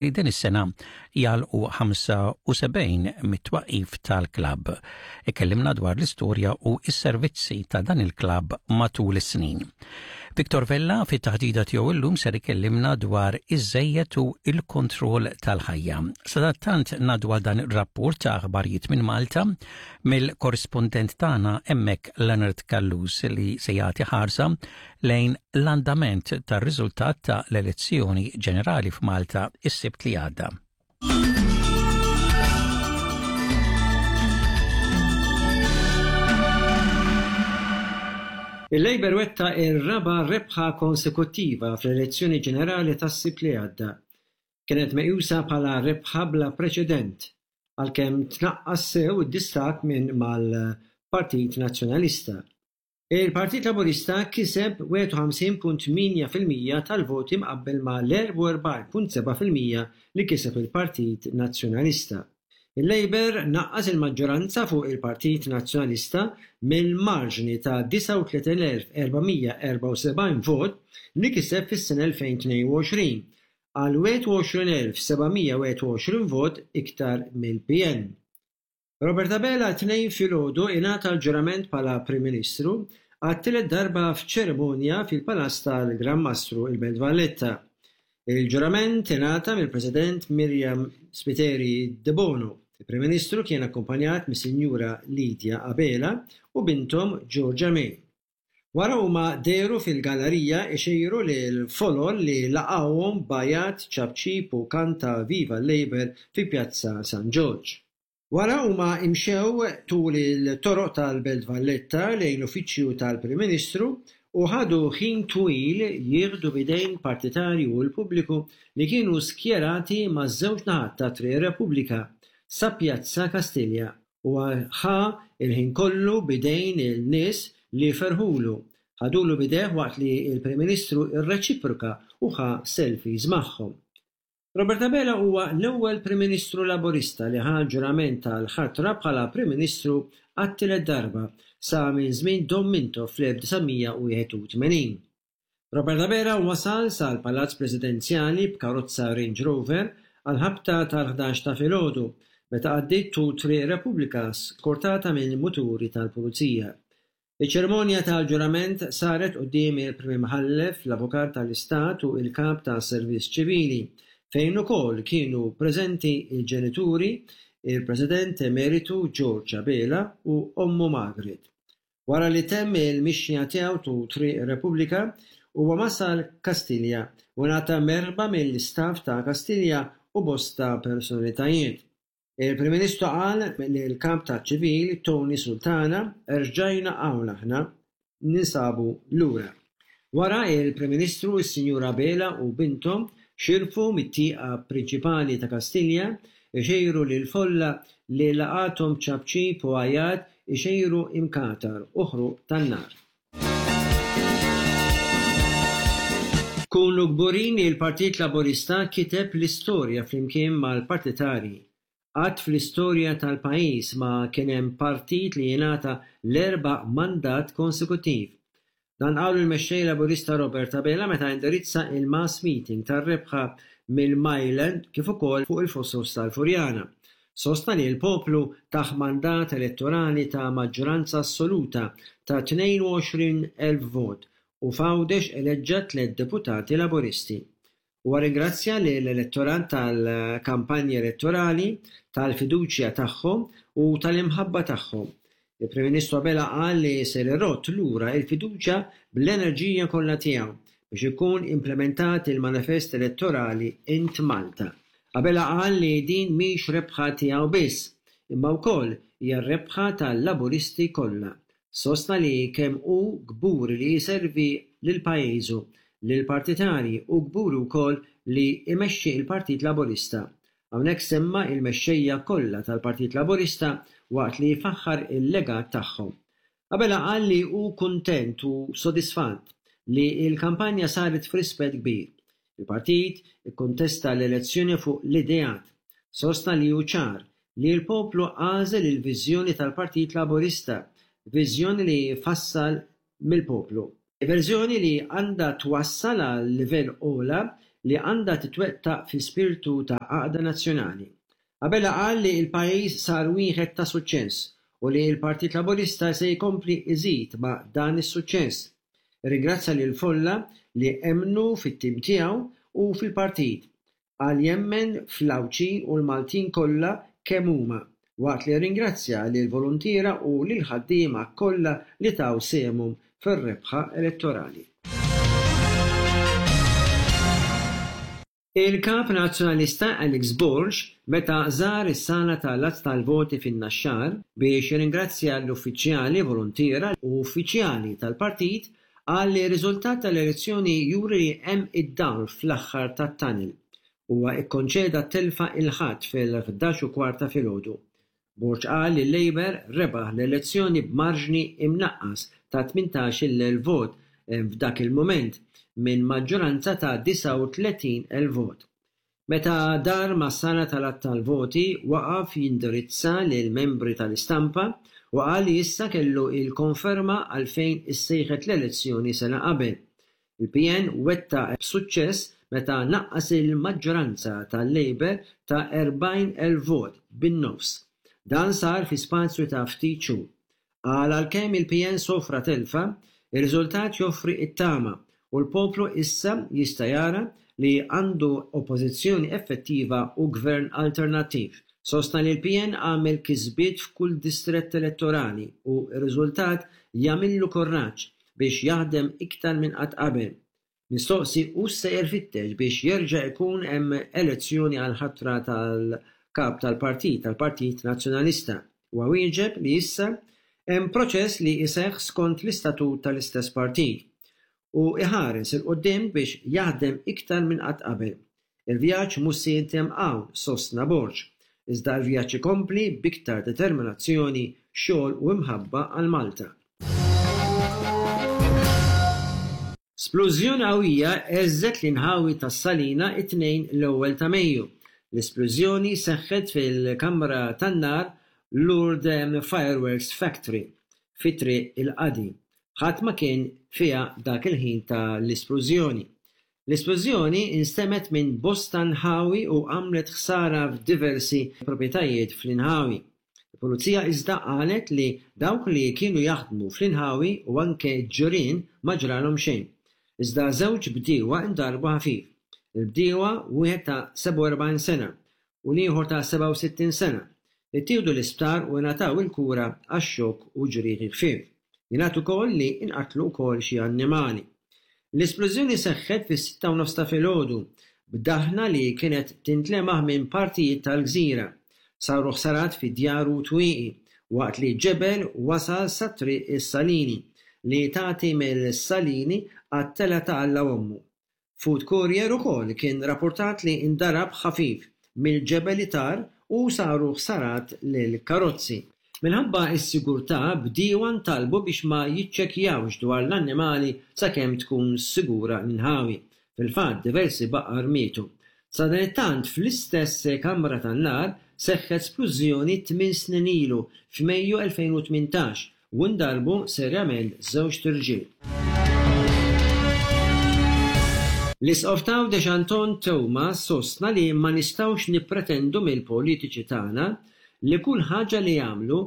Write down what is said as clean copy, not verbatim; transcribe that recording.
Din is-sena jagħlqu 75 mit-twaqqif tal-klabb. Ikellimna dwar l-istorja u s-servizzi ta' dan il-klabb matul is-snin. Victor Vella fit-taħdida tiegħu illum ser ikellimna dwar iż-żejjed u l-kontroll tal-ħajja. Sadattant ngħaddu għal dan ir-rapport ta' aħbarijiet minn Malta mill-korrispondent tagħna hemmhekk Leonard Callus li se jagħti ħarsa lejn l-andament tar-riżultat ta' l-elezzjoni ġenerali f'Malta is-Sibt li għadda. Il-Labour wettaq ir-raba' rebħa konsekuttiva fl-elezzjoni ġenerali tas-Sibt li għadda. Kienet meqjusa bħala rebħa bla preċedent, għalkemm tnaqqas sew id-distakk minn mal-Partit Nazzjonalista. Il-Partit Laburista kiseb 51.8 fil-mija tal-voti mqabbel ma' l-44.7 fil-mija li kiseb il-Partit Nazzjonalista. Il-Labour naqqas il-maġġoranza fuq il-Partit Nazzjonalista mill-marġni ta' 39,474 vot li kiseb fis-sena 2022 għal 21,721 vot iktar mill-PN. Robert Abela t-Tnejn filgħodu ingħata l-ġurament bħala Prim Ministru għat-tielet darba f'ċerimonja fil-Palazz tal-Gran Mastru il-Belt Valletta. Il-ġurament ingħata mill-President Myriam Spiteri Debono. Il-Prim Ministru kien akkumpanjat mis-Sinjura Lydia Abela u binthom Georgia May. Wara huma dehru fil-gallarija ixejru lill-folol li laqgħuhom b'għajat, ċapċip u kant ta' Viva l-Labour fi Pjazza San Ġorġ. Wara huma imxew tul il-toroq tal-Belt Valletta lejn l-Uffiċċju tal-Prim Ministru u ħadu ħin twil jieħdu b'idejn partitarji u l-pubbliku li kienu skjerati maż-żewġ naħat ta' Triq ir-Repubblika sa Pjazza Kastilja. Huwa ħa l-ħin kollu b'idejn il-nies li ferħulu, ħadulu b'idejh waqt li l-Prim Ministru rreċiproka u ħa selfies magħhom. Robert Abela huwa l-ewwel Prim Ministru Laburista li ħa l-ġurament tal-ħatra bħala Prim Ministru għat-tielet darba sa minn żmien Dom Mintoff fl-1981. Robert Abela wasal sal-Palazz Presidenzjali b'karozza Range Rover għall-ħabta tal-ħdax ta' filgħodu meta għaddiet tul Triq Repubblika skortata minn muturi tal-Pulizija. Iċ-ċerimonja tal-ġurament saret quddiem il-Prim Imħallef, l-Avukat tal-Istat u l-Kap tas-Servizz Ċivili, fejn ukoll kienu preżenti l-ġenituri, il-President Emeritu George Abela u ommu Margaret. Wara li temm il-mixja tiegħu tul Triq ir-Repubblika, huwa wasal Kastilja u ngħata merħba mill-istaff ta' Kastilja u bosta personalitajiet. Il-Prim Ministru qal li l-Kap taċ-Ċivil Tony Sultana rġajna hawn aħna, ninsabu lura. Wara il-Prim Ministru, is-Sinjura Abela u binthom xirfu mit-tieqa prinċipali ta' Kastilja, ixejru lill-folla li laqgħathom b'ċapċip u għajat ixejru imkatar u ħruq tan-nar. Kunu kburin li l-Partit Laburista kiteb l-istorja flimkien mal-partitarji. Qatt fl-istorja tal-pajjiż ma kien hemm partit li jingħata l-erba' mandat konsekuttiv. Dan qalu l-Mexxej Laburista Robert Abela meta indirizza il-mass meeting tar-rebħa mill-Myland kif ukoll fuq il-Fosos tal-Furjana. Sostna li l-poplu tah mandat elettorali ta' maġġoranza assoluta ta' 22,000 vot u f'Għawdex eleġġa tlett deputati Laburisti. Huwa rringrazzja lill-elettorat tal-kampanja elettorali, tal-fiduċja tagħhom u tal-imħabba tagħhom. Il-Prim Ministru Abela qal li ser irodd lura l-fiduċja bl-enerġija kollha tiegħu biex ikun implementat il-manifest elettorali Int Malta. Abela qal li din mhix rebħa tiegħu biss, imma wkoll hija r-rebħa tal-Laburisti kollha. Sostna li kemm hu kburi li jservi lil pajjiżu, lill-partitarji u kburi wkoll li jmexxi l-Partit Laburista. Hawnhekk semma il-mexxejja kollha tal-Partit Laburista waqt li faħħar il-legat tagħhom. Abela qal li hu kuntent u sodisfatt li l-kampanja saret f'rispett kbir. Il-partit ikkontesta l-elezzjoni fuq l-ideat. Sostna li hu ċar li l-poplu għażel il-viżjoni tal-Partit Laburista, viżjoni li fassal mill-poplu. Verżjoni li għandha twassal għal livell ogħla. li għandha titwettaq fi spirtu ta' għaqda nazzjonali. Abela qal li l-pajjiż sar wieħed ta' suċċess u li l-Partit Laburista se jkompli jżid ma' dan is-suċċess. Irringrazzja lill-folla li emmnu fit-tim tiegħu u fil-partit. Qal jemmen fl-Għawdxin u l-Maltin kollha kemm huma, waqt li rringrazzja lill-voluntiera u lill-ħaddiema kollha li taw sehemhom fir-rebħa elettorali. Il-Kap Nazzjonalista Alex Borg meta żar is-sala tal-għadd tal-voti fin-Naxxar biex jirringrazzja l-uffiċjali, voluntiera u uffiċjali tal-partit qal li r-riżultat tal-elezzjoni juri li hemm id-dawl fl-aħħar tat-tunnel. Huwa kkonċeda t-telfa il-Ħadd fil-11 u kwart ta' filgħodu. Borg qal li l-Labour rebaħ l-elezzjoni b'marġni imnaqqas ta' 18,000 vot f'dak il-mument minn maġġoranza ta' 39,000 vot. Meta dar mas-sala tal-għadd tal-voti waqaf jindirizza lill-membri tal-istampa u qal li issa kellu l-konferma għalfejn issejħet l-elezzjoni sena qabel. Il-PN wettaq b'suċċess meta naqqas il-maġġoranza tal-Labour ta' 40,000 vot bin-nofs. Dan sar fi spazju ta' ftit xhur. Qal għalkemm il-PN sofra telfa, ir-riżultat joffri t-tama u l-poplu issa jista' jara li għandu Oppożizzjoni effettiva u Gvern alternattiv. Sostna li l-PN għamel kisbiet f'kull distrett elettorali u r-riżultat jagħmillu kurraġġ biex jaħdem iktar minn qatt qabel. Mistoqsi hux sejjer ifittex biex jerġa' jkun hemm elezzjoni għall-ħatra tal-Kap tal-Partit tal-Partit Nazzjonalista, huwa wieġeb li issa hemm proċess li jseħħ skont l-istatut tal-istess partit u jħares 'il quddiem biex jaħdem iktar minn qatt qabel. Il-vjaġġ mhux se jintemm hawn, sostna Borg, iżda l-vjaġġ ikompli b'iktar determinazzjoni, xogħol u imħabba għal Malta. Splużjoni qawwija heżżet l-inħawi tas-Salina t-Tnejn l-ewwel ta' Mejju. L-isplużjoni seħħet fil-kamra tan-nar Lourdes Fireworks Factory fi Triq il-Qadi. Ħadd ma kien fiha dak il-ħin ta' l-isplużjoni. L-isplużjoni nstemgħet minn bosta nħawi u għamlet ħsara f'diversi proprjetajiet fl-inħawi. Il-Pulizija iżda qalet li dawk li kienu jaħdmu fl-inħawi u anke ġirien ma ġralhom xejn. Iżda żewġ bdiewa ndarbu ħafif. Il-bdiewa, wieħed ta' 47 sena u l-ieħor ta' 67 sena, ittieħdu l-isptar u ingħataw il-kura għax-xokk u ġrieħi ħfief. Jingħad ukoll li nqatlu wkoll xi annimali. L-isplużjoni seħħet fis-sitta u nofs ta' filgħodu, b'daħna li kienet tintlemaħ minn partijiet tal-gżira. Saru ħsarat fi djar u twieqi, waqt li ġebel wasal sa Triq is-Salini, li tagħti mill-Salini għat-Telgħa ta' Alla Ommu. Food courier ukoll kien rappurtat li ndarab ħafif mill-ġebel li tar u saru ħsarat lill-karozzi. Minħabba s-sigurtà, bdiewa ntalbu biex ma jiċċekkjawx dwar l-annimali sakemm tkun sigura l-inħawi. Fil-fatt, diversi baqar mietu. Sadanittant, fl-istess kamra tan-nar seħħet splużjoni tmien snin ilu, f'Mejju 2018, u ndarbu serjament żewġt irġiel. L-Isqof t'Għawdex Anton Teuma sostna li ma nistgħux nippretendu mill-politiċi tagħna li kull ħaġa li jagħmlu.